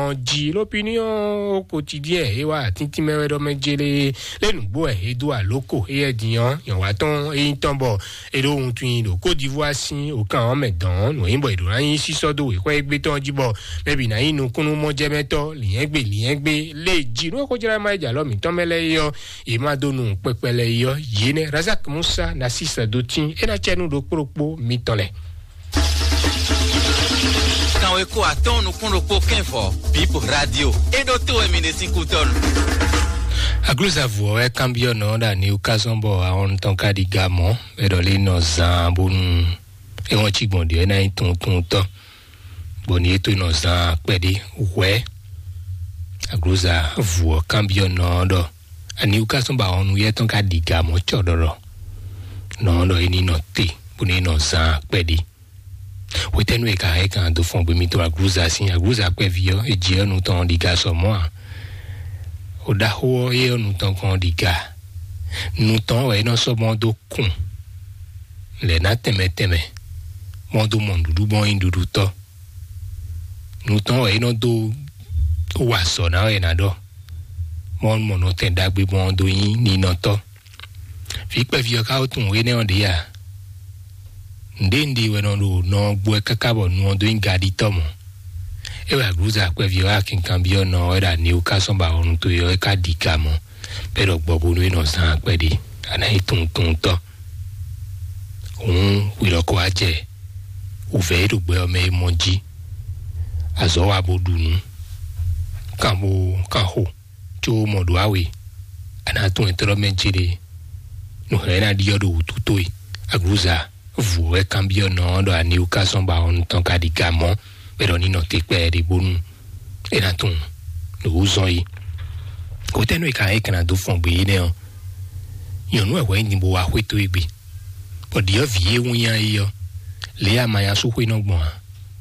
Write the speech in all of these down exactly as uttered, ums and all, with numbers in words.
Ɔn ji lópiniɔn kotidie e wa tintin mɛ wɛ ɖɔ mɛ jele le nugbo ɛ e do aloko e yɛ din ɔn yɔn wa tɔn e yin tɔn bɔ e ɖo wuntun yi ɖo Côte d'Ivoire sin okan ɔn mɛ dɔn nɔ yin bɔ e ɖo na yin sisɔ do wexɔ egbe tɔn ji bɔ mɛ bi na yin nukunu mɔjɛmɛtɔ liɛngbe liɛngbe le ji nú e ko jla ma e jalɔ mitɔn mɛ lɛ yi ɔ e ma do nu kpɛkpɛ lɛ yi ɔ yi nɛ Razak Musa na sisa do tin e na cɛ nu ɖo kplokpo mitɔn lɛ. Kanweko atɔn nukún ɖokpó kɛnfɔ, Bip Radio. E ɖo to wɛ mi ɖe sín kútɔnu. Aglúzavú ɔ́ wɛ kanbyɔ́ nɔ ɖo aniwú ká zɔ́n bɔ ahɔn tɔn ka ɖi ga mɔ̌, bɔ é ɖɔ lé nɔ zaan bónú é wɔn cí gbɔn ɖě é ná nyí tunwun tunwun tɔn, bɔ ní é tó nɔ zaan kpɛɖé hwɛ̌. Aglúzavú ɔ́ kanbyɔ́ nɔ ɔ́ ɖɔ aniwú ká zɔ́n bɔ ahɔn nuyɛ́ tɔn ka ɖi ga mɔ̌ cɔɖɔɖɔ. Nɔ ɔ́ ɖɔ é ní nɔ te bónú é nɔ zaan kpɛɖé. Hwetɛ́nu e ka hɛn kan dó fɔn gbé mitɔn aglúza sín aglúza kpɛví ɔ́, e jǐ ɔ́ nu tɔn ɖi ga sɔ mɔ̌ ǎ. O ɖaxó ɔ́, é ɔ́ nu tɔn kɔn ɖi ga. Nu tɔn wɛ é nɔ sɔ́ mɔ dó kun lɛ̌ ná tɛnmɛ tɛnmɛ, mɔ dó mɔ nǔɖuɖu gbɔn nyí nǔɖuɖutɔ́. Nu tɔn wɛ é nɔ dó wa azɔ̌ ná wɛ è nǎ ɖɔ, mɔ mɔ nɔtɛn ɖagbe gbɔn dó nyí ninɔtɔ́. Vǐ kpɛví ɔ́ ka ko tunwun énɛ́ ɔ́ ɖě a? Nǔɖé nǔɖé wɛ nɔ ɖo nɔ ɔ́ gbo wɛ káká bɔ nu ɔ́ dó nyí gaɖitɔ́ mɔ̌. É wɛ aglǔza kpɛví ɔ́ wá kinkanbyɔ́ nɔ ɔ́ wɛ ɖo aniwú ká sɔ́ ba wɔnu towe ɔ́ é ká ɖi ga mɔ̌, bɔ é ɖɔ gbɔ bónú é nɔ zán kpɛɖé, a nǎ nyí tunwun tunwun tɔ́. Hǔn hwi lɔ ko wá jɛ wǔvɛ́ e ɖo gbɛ ɔ́ mɛ é mɔ jí. Azɔ̌ wa bó ɖu nǔ, kan bó kan xo, có mɔ ɖǒ awe, a nǎ tunwun etɔ́ mɛ céɖé. Nǔ hɛn ná ɖiɖɔ ɖo wǔtu towe. Aglǔza vǔ wɛ kanbyɔ́ nɔ ɔ́ ɖɔ aniwú ká sɔ́ ba ɔ́ nú tɔn ka ɖi ga mɔ̌, bɔ é ɖɔ ní nɔ te kpɛɖé bónú é ná tunwun nǔ wú zɔn yi. Hwetɛ́nu e ka é ka ná dó fɔn gbé énɛ́ ɔ́, nyɔ̌nu wɛ hwɛ nyi bó wá xwé towe gbe, bɔ ɖyɔ̌vǐ e wún nya é ɔ́, lě e amanyasúxwé nɔ gbɔn ǎ,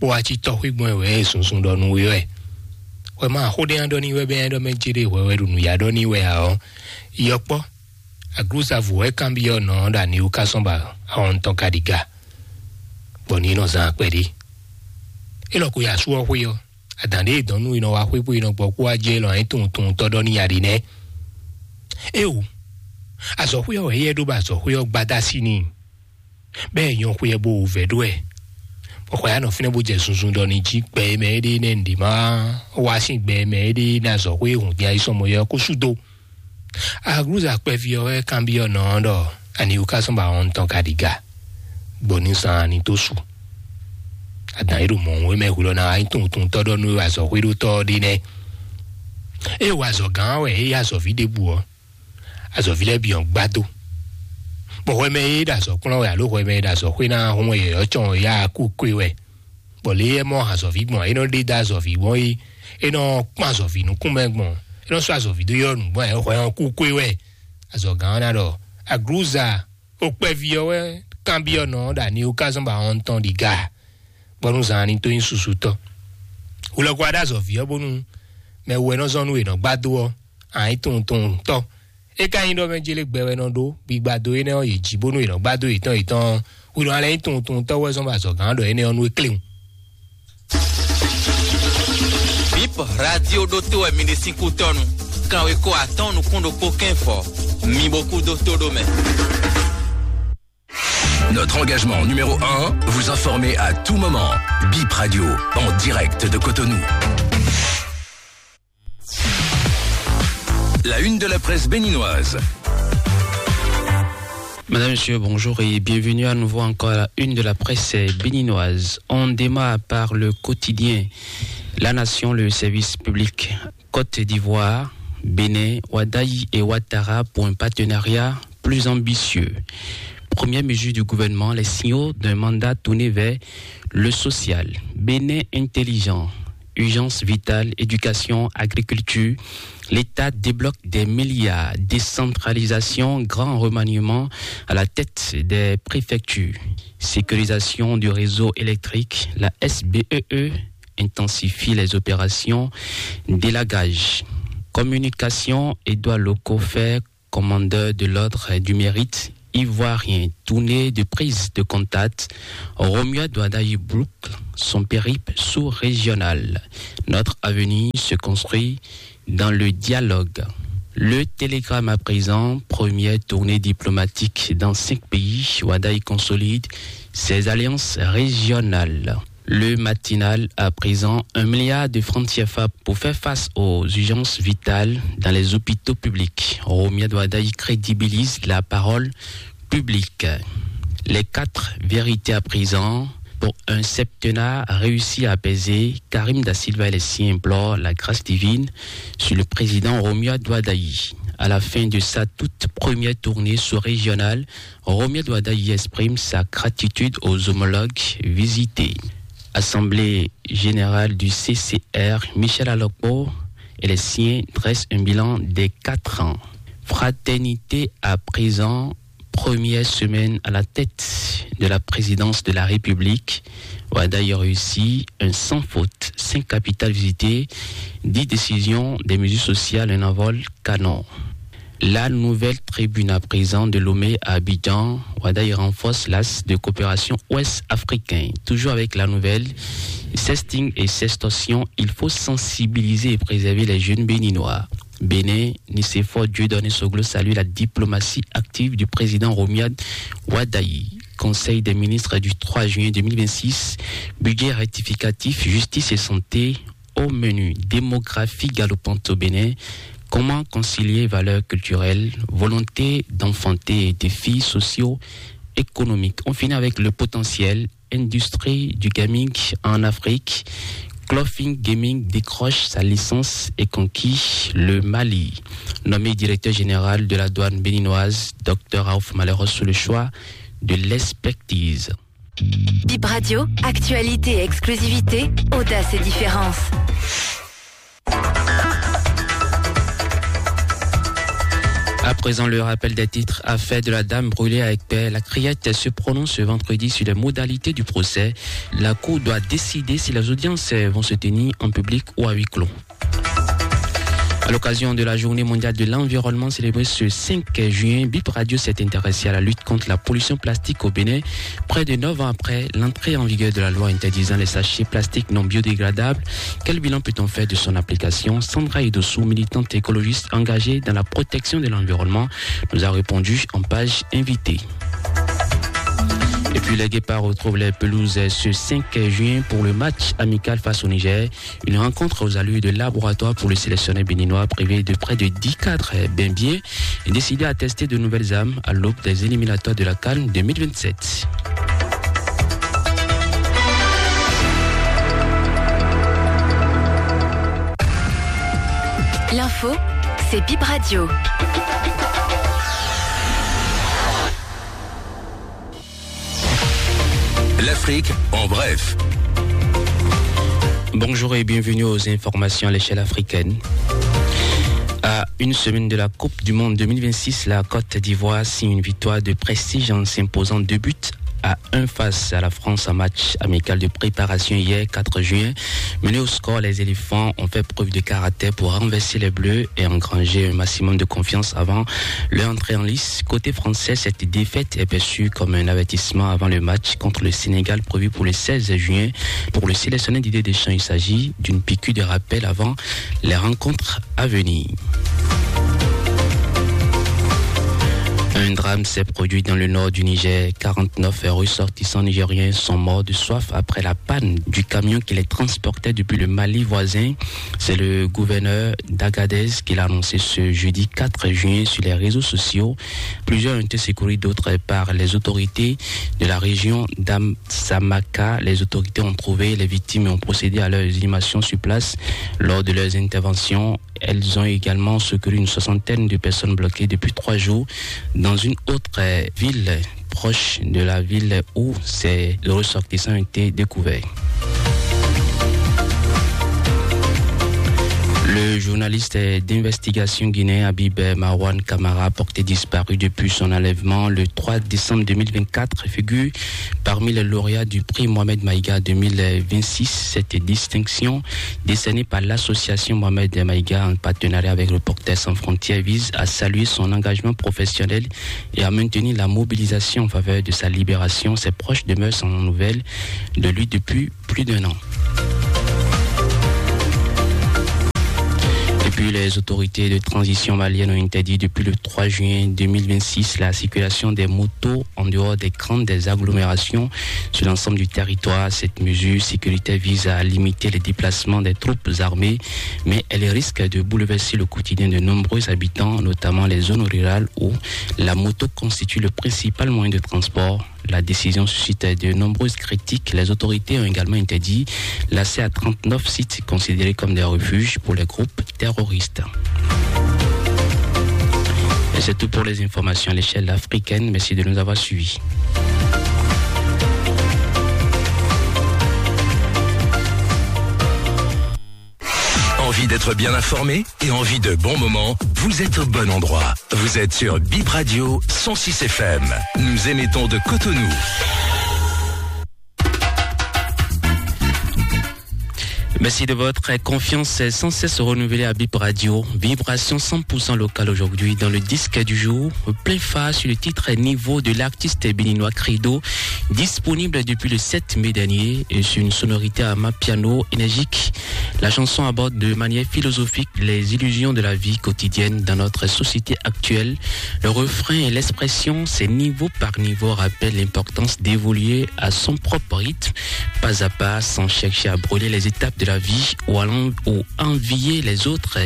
bó wá cí tɔ́xwé gbɔn wɛ é zunzun ɖɔ nú we wɛ. Hwɛ ma xó ɖé nya ɖɔ ní wɛ bɛ́ nya ɖɔ mɛ céɖé hwɛ wɛ ɖo nǔyá ɖɔ ní wɛ ǎ ɔ́, yɔkpɔ́ aglúzavǔ wɛ kanbyɔ́ nɔ ɔ́ ɖo aniwú ká sɔ́ ba ahɔn tɔn ka ɖi ga, bɔ ní nɔ zán akpɛɖé. É lɔ ko yi asú ɔ́ xwé ɔ́, adǎn ɖé e dɔn nú è nɔ wá xwé bó è nɔ gbɔ kpó wá jɛ lɔ anyí tunwun tunwun tɔ́ ɖɔ ní ya ɖi nɛ́. Éeǒ, azɔ̌xwé ɔ́ wɛ éyɛ́ ɖó bɔ azɔ̌xwé ɔ́ gbadá sí n'i, bɔ é nyɔ́ xwé ɛ bó wǔvɛ́ ɖó ɛ. Bɔ xɔ ya nɔ fínɛ́ bó jɛ zunzun ɖɔ ní jí gbɛ e mɛ é ɖe nɛ́ nǔɖé má wá sín gbɛ e mɛ é ɖe ní azɔ̌xwé e hǔn dín ayisɔmɔ yɛ ɔ́ kó sú dó. Aglúza kpɛví ɔ́ wɛ kanbyɔ́ nɔ ɔ́ ɖɔ aniwú ká sɔ́ ba wɔn tɔn ka ɖi ga, bɔ ní zan ani tó su. Adǎn e ɖo mɔ̌ wé mɛ hwilɔ ná wá nyí tunwun tunwun tɔ́ ɖɔ nú azɔ̌xwé ɖó tɔ́ ɔ́ ɖe nɛ́. Ée wa azɔ̌ gán wɛ é yí azɔ̌ví ɖěbǔ ɔ́, azɔ̌ví lɛ́ɛ bǐ ɔ́ gbá dó. Bɔ hwɛ mɛ e ɖo azɔ̌ kplɔ́n wɛ alo hwɛ mɛ e ɖo azɔ̌xwé ná hún wɛ yɔ̌yɔ́ cɔn yá kú kwé wɛ. Bɔ lě e mɔ azɔ̌ví gbɔn é nɔ ɖe dó azɔ̌ví gbɔn é, é nɔ kpɔ́n azɔ̌ví nukún mɛ gbɔn, é nɔ sɔ́ azɔ̌ví dó yɔ́ nǔ gbɔn é hwɛ ɔ́ kú kwé wɛ. Azɔ̌ gán ɔ́ ná ɖɔ aglúza o kpɛví ɔ́ wɛ kanbyɔ́ nɔ ɖo aniwú ká zɔ́n ba ɔ́n tɔn ɖi ga, bɔ nú zan ní tó nyí susu tɔn. Wulɔkɔ aɖa azɔ̌ví ɔ́ bónú mɛ wú wɛ nɔ zɔn nú è nɔ gbá dó ɔ́, ǎ nyí tunwun tunwun tɔ́. É ka nyí ɖɔ mɛ jélé gbɛ wɛ nɔ ɖó gbigba dó énɛ́ ɔ́ yě jí bónú è nɔ gbá dó yětɔn yětɔn ɔ́, hwi nɔ alɛ nyí tunwun tunwun tɔ́ wɛ zɔn bɔ azɔ̌ gán ɖɔ énɛ́ ɔ́ nú é kléwun. Bip Radio ɖótó wɛ mi ɖe sín kútɔ́nu. Kanweko atɔ́ɔ́n nukún ɖokpó kɛ́nfɔ. Mi bo kú dó tó ɖó mɛ. Notre engagement numéro un, vous informer à tout moment. Bip Radio, en direct de Cotonou. La une de la presse béninoise. Madame, Monsieur, bonjour et bienvenue à nouveau encore à la une de la presse béninoise. On démarre par le quotidien La Nation, le service public. Côte d'Ivoire, Bénin, Ouaddaï et Ouattara pour un partenariat plus ambitieux. Première mesure du gouvernement, les signaux d'un mandat tourné vers le social. Bénin intelligent, urgence vitale, éducation, agriculture. L'État débloque des milliards. Décentralisation, grand remaniement à la tête des préfectures. Sécurisation du réseau électrique, la S B E E intensifie les opérations d'élagage. Communication, Édouard Locofer, commandeur de l'ordre du mérite, ivoirien, tournée de prise de contact, Romuald Wadagni boucle son périple sous-régional. Notre avenir se construit dans le dialogue. Le Télégramme à présent, première tournée diplomatique dans cinq pays, Wadagni consolide ses alliances régionales. Le Matinal à présent, un milliard de francs C F A pour faire face aux urgences vitales dans les hôpitaux publics. Romuald Wadagni crédibilise la parole publique. Les quatre vérités à présent. Pour un septennat réussi à apaiser, Karim Da Silva et les siens implorent la grâce divine sur le président Romuald Wadagni. À la fin de sa toute première tournée sous-régionale, Romuald Wadagni exprime sa gratitude aux homologues visités. Assemblée générale du C C R, Michel Alokpo et les siens dressent un bilan des quatre ans. Fraternité à présent, première semaine à la tête de la présidence de la République. Wadagni réussit un sans faute, cinq capitales visitées, dix décisions, des mesures sociales, un envol canon. La nouvelle tribune à présent de Lomé à Abidjan, Wadagni renforce l'axe de coopération ouest-africain. Toujours avec la nouvelle, sexting et sextorsion, il faut sensibiliser et préserver les jeunes béninois. Bénin, Nicéphore Dieudonné Soglo salue la diplomatie active du président Romuald Wadagni. Conseil des ministres du trois juin deux mille vingt-six, budget rectificatif, justice et santé au menu. Démographie galopante au Bénin, comment concilier valeurs culturelles, volonté d'enfanter et défis socio-économiques. On finit avec le potentiel, industrie du gaming en Afrique. Clothing Gaming décroche sa licence et conquit le Mali. Nommé directeur général de la douane béninoise, Dr Raouf Malheros sous le choix de l'expertise. Bip Radio, actualité, exclusivité, audace et différence. À présent, le rappel des titres. Affaire de la dame brûlée à Aiguebert. La Criette se prononce ce vendredi sur les modalités du procès. La Cour doit décider si les audiences vont se tenir en public ou à huis clos. À l'occasion de la journée mondiale de l'environnement célébrée ce cinq juin, Bip Radio s'est intéressée à la lutte contre la pollution plastique au Bénin, près de neuf ans après l'entrée en vigueur de la loi interdisant les sachets plastiques non biodégradables. Quel bilan peut-on faire de son application ? Sandra Idossou, militante écologiste engagée dans la protection de l'environnement, nous a répondu en page invitée. Et puis les Guépards retrouvent les pelouses ce cinq juin pour le match amical face au Niger. Une rencontre aux allures de laboratoire pour le sélectionneur béninois, privé de près de dix cadres bien bien et décidé à tester de nouvelles armes à l'aube des éliminatoires de la CAN deux mille vingt-sept. L'info, c'est Bip Radio. L'Afrique en bref. Bonjour et bienvenue aux informations à l'échelle africaine. À une semaine de la Coupe du Monde deux mille vingt-six, la Côte d'Ivoire signe une victoire de prestige en s'imposant deux buts à un face à la France en match amical de préparation hier quatre juin. Menés au score, les éléphants ont fait preuve de caractère pour renverser les bleus et engranger un maximum de confiance avant leur entrée en lice. Côté français, cette défaite est perçue comme un avertissement avant le match contre le Sénégal prévu pour le seize juin. Pour le sélectionneur Didier Deschamps, il s'agit d'une piqûre de rappel avant les rencontres à venir. Un drame s'est produit dans le nord du Niger. Quarante-neuf ressortissants nigériens sont morts de soif après la panne du camion qui les transportait depuis le Mali voisin. C'est le gouverneur d'Agadez qui l'a annoncé ce jeudi quatre juin sur les réseaux sociaux. Plusieurs ont été secourus, d'autres par les autorités de la région d'Amsamaka. Les autorités ont trouvé les victimes et ont procédé à leur inhumation sur place. Lors de leurs interventions, elles ont également secouru une soixantaine de personnes bloquées depuis trois jours dans une autre, euh, ville proche de la ville où ces ressortissants ont été découverts. Le journaliste d'investigation guinéen Habib Marwan Camara, porté disparu depuis son enlèvement le trois décembre deux mille vingt-quatre, figure parmi les lauréats du prix Mohamed Maïga deux mille vingt-six. Cette distinction, décernée par l'association Mohamed Maïga en partenariat avec Reporters sans frontières, vise à saluer son engagement professionnel et à maintenir la mobilisation en faveur de sa libération. Ses proches demeurent sans nouvelles de lui depuis plus d'un an. Et puis, les autorités de transition malienne ont interdit depuis le trois juin deux mille vingt-six la circulation des motos en dehors des grandes agglomérations sur l'ensemble du territoire. Cette mesure sécuritaire vise à limiter les déplacements des troupes armées, mais elle risque de bouleverser le quotidien de nombreux habitants, notamment les zones rurales où la moto constitue le principal moyen de transport. La décision suscite de nombreuses critiques. Les autorités ont également interdit l'accès à trente-neuf sites considérés comme des refuges pour les groupes terroristes. Et c'est tout pour les informations à l'échelle africaine. Merci de nous avoir suivis. Envie d'être bien informé et envie de bons moments ? Vous êtes au bon endroit. Vous êtes sur Bip Radio cent six F M. Nous émettons de Cotonou. Merci de votre confiance sans cesse renouvelée à Bip Radio. Vibration cent pour cent locale aujourd'hui dans le disque du jour, plein phare sur le titre Niveau de l'artiste béninois Credo, disponible depuis le sept mai dernier et sur une sonorité à mapiano énergique. La chanson aborde de manière philosophique les illusions de la vie quotidienne dans notre société actuelle. Le refrain et l'expression, c'est niveau par niveau, rappelle l'importance d'évoluer à son propre rythme, pas à pas, sans chercher à brûler les étapes de la vie ou à l'en-, ou envier les autres.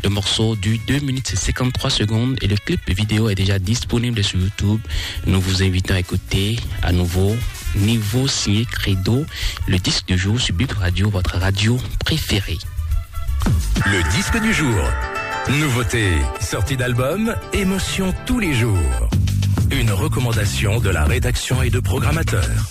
Le morceau dure deux minutes et cinquante-trois secondes et le clip vidéo est déjà disponible sur YouTube. Nous vous invitons à écouter à nouveau Niveau signé Credo, le disque du jour sur Bip Radio, votre radio préférée. Le disque du jour. Nouveauté, sortie d'album, émotion tous les jours. Une recommandation de la rédaction et de programmateurs.